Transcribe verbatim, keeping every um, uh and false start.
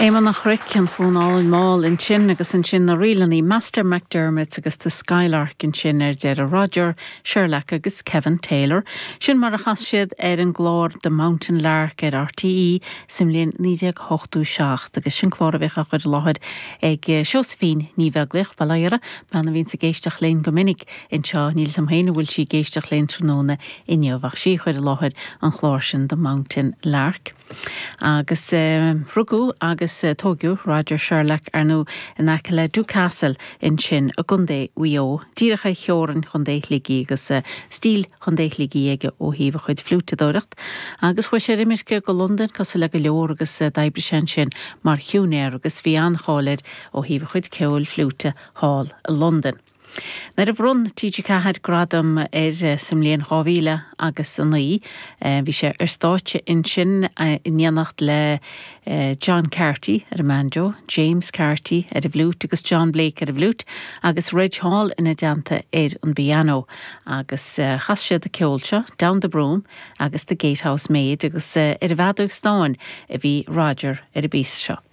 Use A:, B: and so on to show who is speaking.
A: Éamonn an Chnoic an fonn álainn mall ansin agus ansin na ríleanna Master McDermott agus The Skylark ansin ar deireadh Roger, Sherlock agus Kevin Taylor. Sin mar a chas siad ar an gclár The Mountain Lark ar RTÉ sa mbliain naoi déag ochtó seacht agus sin clár a bhíodh á chur i láthair ag Josephine Ní Bheaglaoich Baile bean a bhíonn ag éisteacht linn go minic anseo níl a fhios agam féin an bhfuil sí ag éisteacht linn tráthnóna inniu ach sí a chuir i láthair an chlár sin The Mountain Lark. Agus uh, rugadh agus uh, tógadh Roger Sherlock ar ndóigh in aice le Dúcastle ansin i gContae Mhaigh Eo, díreach ar theorainn Chontae Shligigh agus uh, stíl Chontae Shligigh aige ó thaobh a chuid fliúiteadóireacht. Agus chuaigh sé ar imirce go Londain cosúil le go leor agus uh, d'oibrigh sé ansin mar shiúinéir agus bhí an-cháil air ó thaobh a chuid ceoil fliúite thall i Londain. Nuair a bhronn TG Ceathair gradam air sa mbliain dhá mhíle agus a naoi, bhí sé ar stáitse ansin in éineacht le John Carty ar an mbanjo, James Carty ar an bhfliúit agus John Blake ar an bhfliúit, agus Reg Hall ina dteannta ar an bpianó agus chas siad an ceol seo Down the Broom agus the Gatehouse Maid agus ar an bhfeadóg stáin a bhí Roger ar an bpíosa seo.